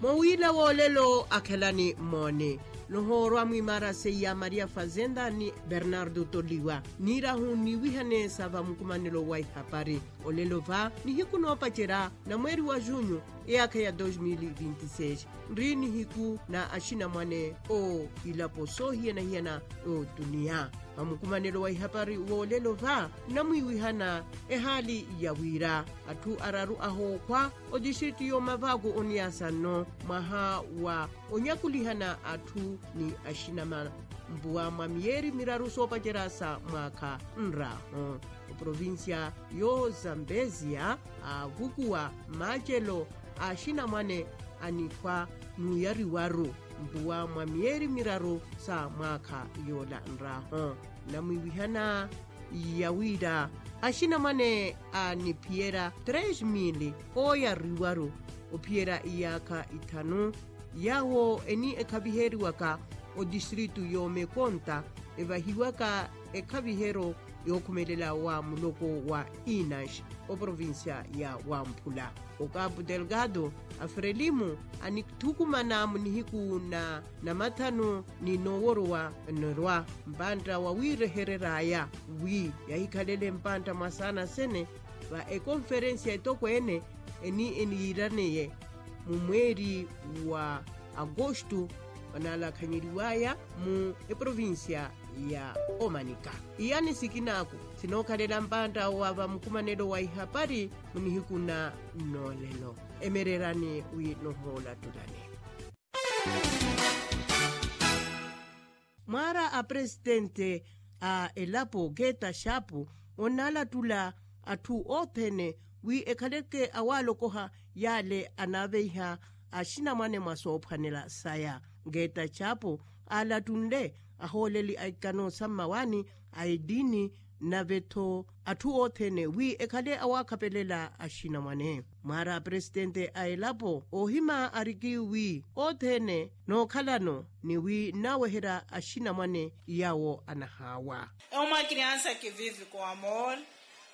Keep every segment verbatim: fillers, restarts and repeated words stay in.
Mowiila woolelo akhelani mmooni, nohoorwa mwimaara seiya maria fazenda ni bernardo toliwa, niirahu niiwihane sa vamukumanelo wa ihapari. Olelo va nihiku noopacerya na mweeri wa junyu, eyaakha ya dos mil vinti seis, nri nihiku na axinamwane o ilapo soohiyana-hiyana. Otuniya, vamukumanelo wa ihapari woolelo va nnamwiiwihana ehaali ya wira atthu araru ahookhwa otistritu y'omavaku oniyaasa nno mwaha wa onyakulihana atthu ni axinamampuwa mwa miyeeri miraru soopacerya sa mwaakha nraaho. Oprovincia yo zambezia aavukuwa maacelo a axinamwane anikhwa nuuyariwaru mpuwa mwa miyeeri miraru sa mwaakha yoola nraaho. Nnamwiiwihana ya wira axinamwane aniphiyerya tres mil ooyariwaru ophiyerya iyaakha ithanu, yaawo eni ekhaviheriwaka otistritu y'omekonta evahiwaka ekhaviheryo yookhumelela wa muloko wa inas oprovincia ya wamphula. Okapu delgado afrelimu anithukumana mu nihiku na namathanu ni nooworowa nirwa mpantta wawiirehereryaya wi yahikhalele mpantta mwa saana sene va ekonferensia etokweene eni eniyiiraneye mu mweeri wa agosto onalakhanyeriwaya mu eprovincia ya omanika. Iyani sikinaaku sinookhalela mpantta wa vamukumanelo wa ihapari mu nihiku na noolelo. Emererani wi nohoolattulani. Mwaara a presitente a elapo keta xapu onnalattula atthu othene wi ekhaleke awaalokoha yaale anaaveiha axinamwane mwa soophwanela saya. Keta xapu aalattunle ahooleli a ikano sa mmawaani a etiini nave-tho atthu othene wi ekhale awaakhapelela axinamwane. Mwaara a presitente a elapo oohima ariki wi othene nookhalano ni wi nnaaweherya axinamwane yaawo anahaawa. É uma criança que vive com amor,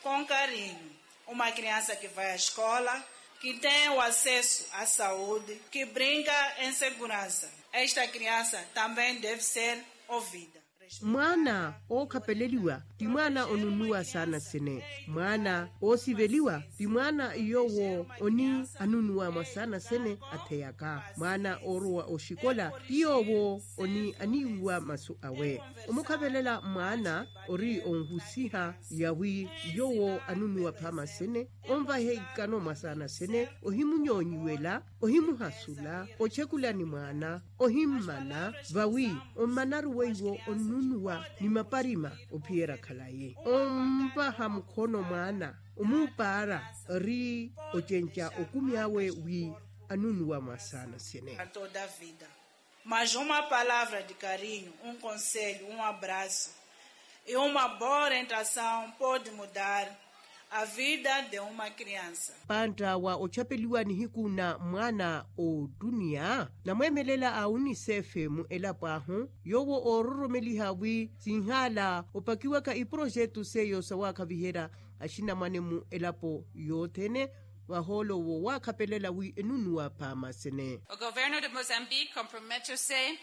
com carinho, uma criança que vai à escola, que tem o acesso à saúde, que brinca em segurança. Esta criança também deve ser ouvida. Mwaana ookhapeleliwa ti mwaana onunuwa saana sene. Mwaana oosiveliwa ti mwaana yoowo oni anunuwa mwa saana sene atheyaka. Mwaana oorowa oxikola ti yoowo oni aniiwuwa masu awe. Omukhapelela mwaana ori onhusiha yawi yoowo anunuwa phaama sene onvahe ikano mwa saana sene ohimunyoonyiwela ohimuhasula ochekulani mwaana ohimmana vawi ommanaru weiwo onnunuwa ni maparima ophiyera khalayi onvaha mukhono mwaana omuupaara ri ocenca okumi awe wi anunuwa mwa saana sene. Mas uma palavra de carinho, um conselho, um abraço e uma boa orientação pode mudar a vida de uma criança. Pantta wa ochapeliwa nihiku na mwaana ottuniya namweemelela a unicef mu elapo ahu yoowo oororomeliha wi sinhaala opakiwaka iprojetu seiyo sawaakhaviherya axinamwane mu elapo yothene. Vahoolo wo waakhapelela wi enunuwa phaama sene. O governo de mozambique comprometeu-se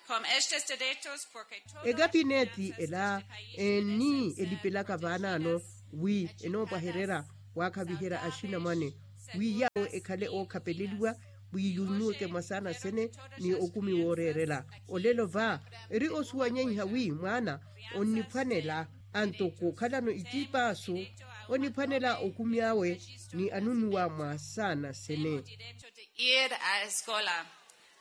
com estes direitos porque todos. Ekapineeti ela eni elipelaka vaanaano wi enoopwahererya waakhaviherya axinamwane wi yaawo ekhale ookhapeleliwa wi yunuweke mwa saana sene ni okumi wooreerela. Olelo va eri osuwanyeiha wi mwaana onniphwanela antoko okhalano itiipaasu oniphwanela okumi awe ni anunuwa mwa saana sene. Ir a escola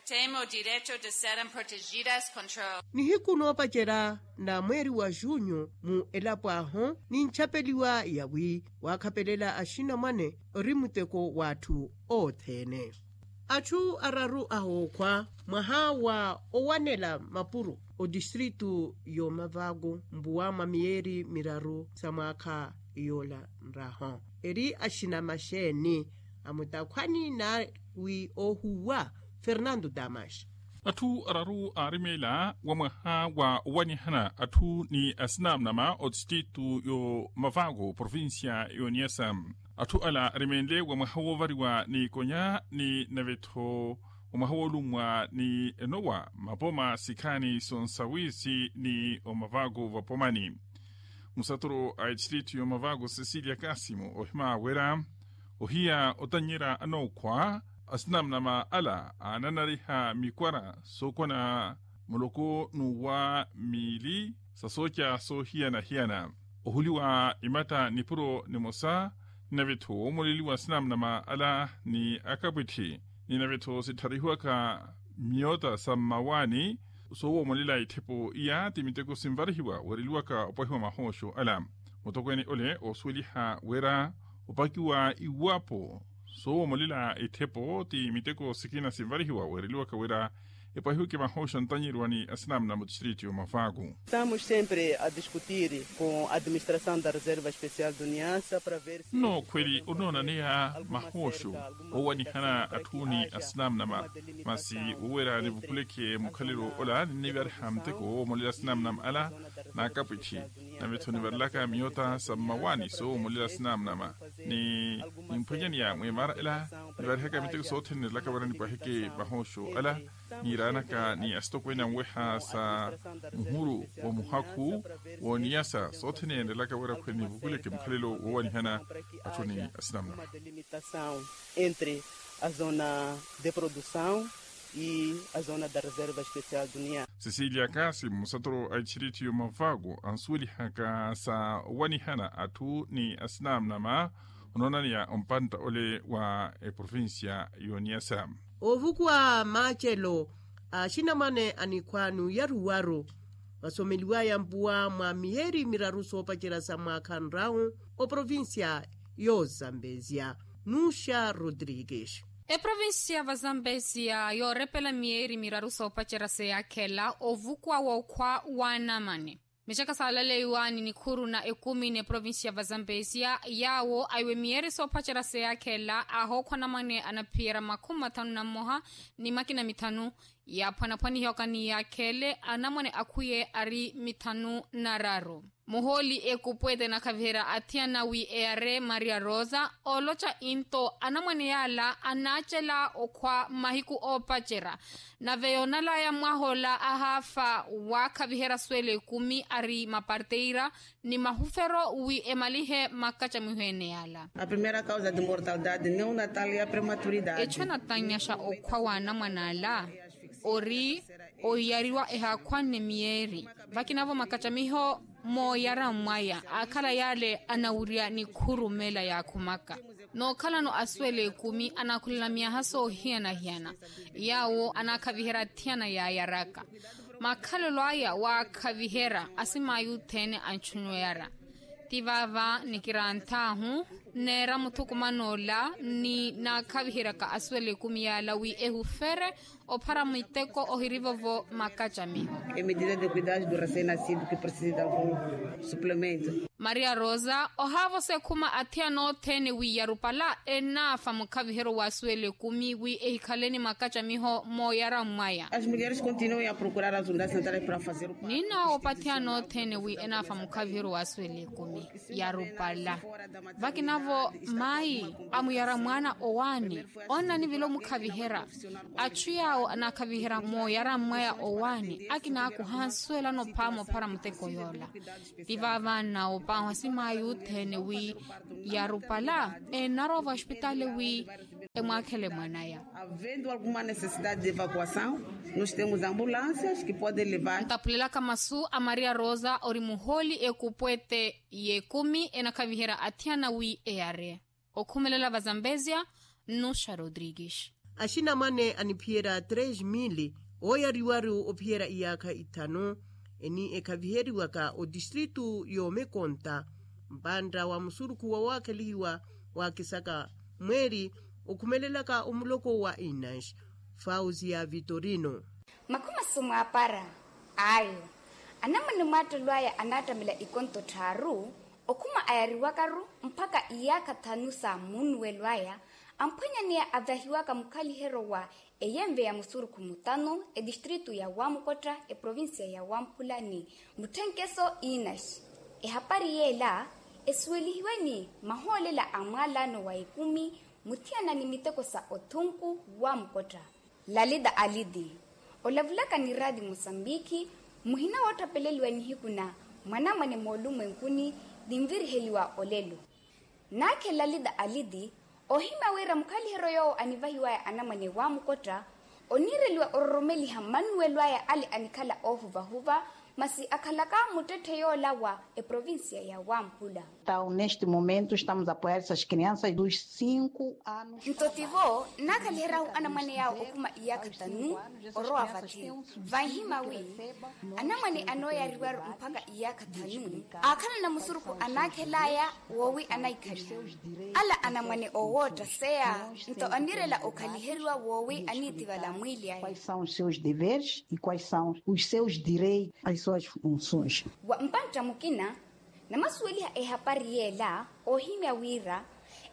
tem o direito de serem protegidas contra. Nihiku noopacerya na mweeri wa junyu mu elapo ahu ninchapeliwa yawi waakhapelela axinamwane ori muteko w'atthu othene. Atthu araru ahookhwa mwaha wa owanela mapuro otistritu y'omavaku mpuwa mwa miyeeri miraru sa mwaakha yoola nraho eri axinama xeeni amutakhwani na wi oohuwa fernando damas. Atthu araru aarimeela wa mwaha wa owanihana atthu ni asinamnama otistritu y'omavaku provincia y'oniyasa. Atthu ala arimeenle wa mwaha woovariwa n'ikonya ni nave-tho omwaha woolummwa ni enowa mapoma sikhaani sonsawiisi ni omavaku vapomani. Musaturu a etistiritu y'omavaku sesilia kasimu ohima wira ohiya otannyerya anookhwa asinamnama ala aananariha mikwara sookona muloko n'uwa miili sa sooca soohiyana-hiyana ohuliwa imatta nipuro nimosa. Ninavetho woomoleliwa sinamnama ala ni akapwitthi ninavetho sittharihiwaka miyota sa mmawaani soowoomolela itthepo iya ti miteko sinvarihiwa weereliwaka opwahiwa mahooxo ala. Mutokweene ole oosuweliha wira opakiwa iwapo soowoomolela itthepo ti miteko sikina sinvarihiwa weereliwaka wira epwahiweke mahooxo ntanyeriwa ni asinamnama otistriti y'omavaku. Estamos sempre a discutir com a administração da reserva especial do niasa para ver se no khweli onoonaneya mahooxo owanihana atthu ni asinamnama masi woweera nivukuleke mukhalelo ola ninnivariha muteko woomolela asinamnama ala n'akapwitthi. Navetho nivarelaka miyota sa mmawaani soowoomolela asinamnama ni nimphwanyaneya mweemara ela nivarihaka miteko sothene nerelaka wira nipwaheke mahooxo ala niiraanaka ni asitokweene anweha sa muhuru wa muhakhu wooniyasa sothene nerelaka wira khweli nivukuleke mukhalelo woowanihana atthu ni asinamnama. Entre a zona de produção e a zona da reserva especial do niasa. Sesilia kasi musatoro a itxiriti y'omavaku ansuwelihaka sa owanihana atthu ni asinamnama onoonaneya ompantta ole wa eprovincia y'oniasa. Ovukuwa macelo a axinamwane a nikhwa n'uyaruwaru vasomeliwaya mpuwa mwa miyeeri miraru soopacerya sa mwaakha nrawu oprovincia y'ozambezia. Nuxa rodrigues. Eprovincia vazambezia yoorepela miyeeri miraru soopacerya seyaakhela ovukuwa w'okhwa w'anamwane. Mixaka saalaleiwa ni nikhuru na ekumi n'eprovincia vazambezia yaawo aiwe miyeeri soopacerya seyaakhela ahookhwa anamwane anaphiyerya makhumi mathanu na mmoha ni makina mithanu. Yaaphwanaphwanihiwaka ni yaakhele anamwane akhuye ari mithanu na raru. Muhooli ekupwete nakhaviherya athiyana wi eyare maria rosa ooloca into anamwane yaala anaacela okhwa mahiku oopacerya. Nave yoonalaya mwahoola ahaafa waakhaviherya asweela ekumi ari maparteira ni mahufero wi emalihe makacamiho ene yaala. A primeira causa de mortalidade neonatal e a prematuridade. Echo anatanyaxa okhwa w'anamwane ala ori oyariwa ehaakhwanne miyeeri vakinavo makacamiho mooyara mwaya aakhala yaale anawurya nikhurumela yaakhumaka. Nookhalano asweela ekumi anaakhulela myaha soohiyana-hiyana yaawo anaakhaviherya athiyana yaayaraka makhalelo aya waakhaviherya asimaayi othene anchunweyara. Ti vaava nikiranth'ahu neera muthukuman'ola ni naakhaviheryaka aswela ekumi yaala wi ehufere ophara miteko ohirivovo makacamiho. E medida de cuidado do recém-nascido que precisa de algum suplemento. Maria rosa ohaavosa ekhuma athiyana othene wi yarupala enaafa mukhaviheryo wa aswela ekumi wi ehikhaleni makacamiho mooyara mwaya. As mulheres continuam a procurar as unidades sanitárias para fazer o parto. Ninoopa athiyana othene wi enaafa mukhaviheryo wa aswela ekumi yarupala. Vakinavo mayi amuyara mwaana owaani onnanivila omukhaviherya. Achu yaawo anaakhaviherya mooyara mwaya owaani akinaakuha ansuwelano phaama ophara muteko yoola. Ti vaava nnawopahu asimaayi othene wi yarupala ennarowa voospitaali wi emwaakhele mwanaya. Havendo alguma necessidade de evacuação, nós temos ambulâncias que podem levar. Ntaphulelaka masu a maria rosa ori muhooli ekupwete y'ekumi enakhaviherya athiyana wi eyare. Okhumelela vazambezia nnuxa rodrigues. Axinamwane aniphiyerya tres mili ooyariwaru ophiyerya iyaakha ithanu eni ekhaviheriwaka otistritu y'omekonta mpantta wa musurukhu wa waakhelihiwa waakisaka mweeri okhumelelaka omuloko wa inanx fausia vitorino. Makhuma sumwaapara ayo anamwane mwaattelo aya anaattamela ikonto tthaaru okhuma ayariwakaru mpakha iyaakha thanu sa muunuwelo aya amphwanyaneya avahiwaka mukhaliheryo wa eyenve ya musurukhu mutano etistritu ya wamukotta eprovincia ya wamphula ni mutthenkeso inaxi. Ehapari yeela esuwelihiwe ni mahoolela a mwaalano wa ekumi muthiyana ni miteko sa othunku wamukotta. Lalita aliti, olavulaka ni raati mosambiki, muhina woottapeleliwa nihiku na mwanamwane moolumwenkuni, ninviriheliwa olelo. Naakhe lalita aliti, oohimya wira mukhaliheryo yoowo anivahiwaya anamwane waamukotta, oniireliwa ororomeliha mannuwelo aya ale anikhala oohuvahuva, masi akhalaka muttetthe yoola wa eprovincia ya wamphula. Neste momento estamos a apoiar essas crianças dos cinco anos. Nto tivo naakhaliheryahu anamwane yaawo okhuma iyaakha tanu, orowa vathi. Vanhima wi anamwane anooyariwaru mpakha iyaakha thanu, aakhalana musurukhu anaakhelaya woowi anaikhaliha. Ala anamwane oowoottaseya, nto anirela okhaliheriwa woowi aniitivala mwiili aya. Quais são os seus deveres e quais são os seus direitos, as suas funções. Wa mpantta mukina namasuweliha ehapari yeela, oohimya wira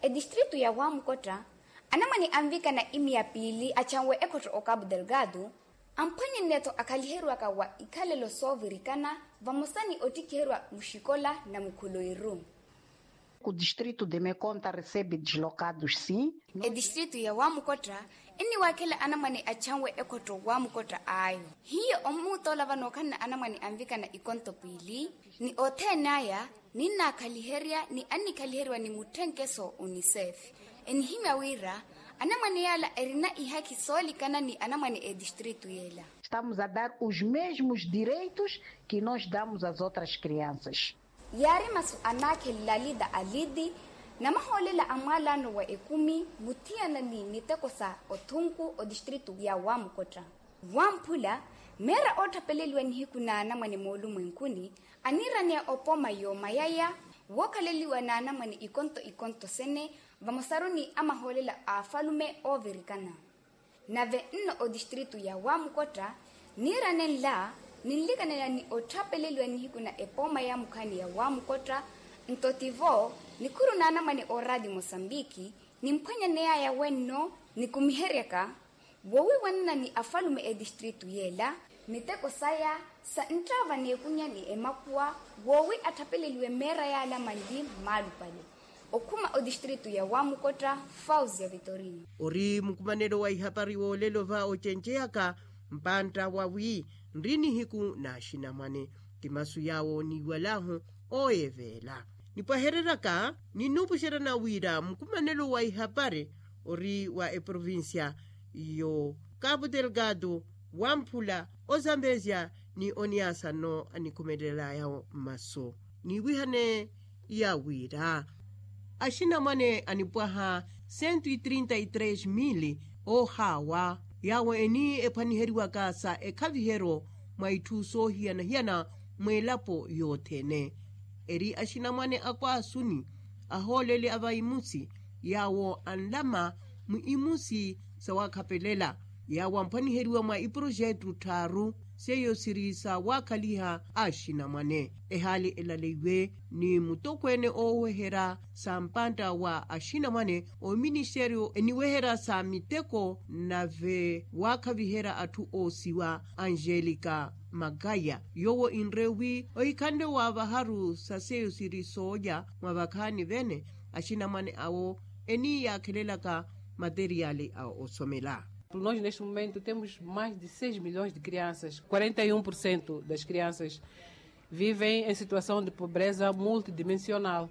etistritu ya wamukotta, anamwane anvikana imiya piili achanwe ekhotto okapu delgado, amphwanye nneetho akhaliheriwaka wa ikhalelo soovirikana, vamosa ni ottikhiheriwa muxikola na mukhuloiru. Ku distritu de mekonta recebe dislokados sim. Etistritu ya wamukotta enniwaakhela anamwane achanwe ekhotto wamukotta ayo. Hiyo omuutoola vano okhanna anamwane anvikana ikonto piili, ni othene aya ninnaakhaliherya ni annikhaliheriwa ni mutthenkeso unicef. Enihimya wira anamwane yaala erina ihakhi soolikana ni anamwane etistritu yeela. Estamos a dar os mesmos direitos que nós damos as outras crianças. Yaari masu anaakhe lalita aliti, namahoolela a mwaalano wa ekumi muthiyana ni miteko sa othunku otistritu ya wamukotta. Wamphula meera ootthapeleliwa nihiku na anamwane moolumwenkuni, aniiraneya opooma yoomayaya wookhaleliwa na anamwane ikonto ikonto sene, vamosaru ni amahoolela a afalume oovirikana. Nave nno otistritu ya wamukotta niirane nla, ninlikanela ni otthapeleliwa nihiku na epooma ya mukhaani ya wamukotta. Nto tivo nikhuru na anamwane ooraati mosambiki, nimphwanyaneyaya wenno nikumiheryaka woowiiwanana ni afalume etistritu yeela, miteko saya sa nttaava n'ekunya ni emakuwa, woowi atthapeleliwe meera yaala manli mmaalupale. Okhuma otistritu ya wamukotta, fausia vitorino. Ori mukumanelo wa ihapari woolelo va ocenceyaka mpantta wawi nri nihiku n'axinamwane. Ti masu yaawo niiwalahu ooyeveela. Nipwahereryaka ninnuupuxeryana wira mukumanelo wa ihapari ori wa eprovincia yo kapu delgado, wamphula, ozambezia ni oniasa nno anikhumelelaya masu. Niiwihane ya wira axinamwane anipwaha sentu itrinta itres mili oohaawa, yaawo eni ephwaniheriwaka sa ekhaviheryo mwa itthu soohiyana-hiyana mw'elapo yothene. Eri axinamwane akwaasuni, ahooleli a vaimusi, yaawo anlama mu imusi sawakhapelela, yaawo amphwaniheriwa mwa iproxetu tthaaru seiyo siri sawaakhaliha axinamwane. Ehaali elaleiwe ni mutokweene ooweherya sa mpantta wa axinamwane, oministeriyo eniweherya sa miteko nave waakhaviherya atthu oosiwa, angelica magaya, yoowo inre wi ohikhanle wa vaharu sa seiyo siri soolya mwa vakhaani vene, axinamwane awo eniiyaakhelelaka materiali a osomela. Nos neste momento temos mais de seis milhões de crianças, quarenta e um por cento das crianças vivem em situação de pobreza multidimensional.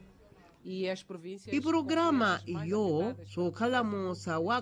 Ipurograma iyo sookhalamo sa wa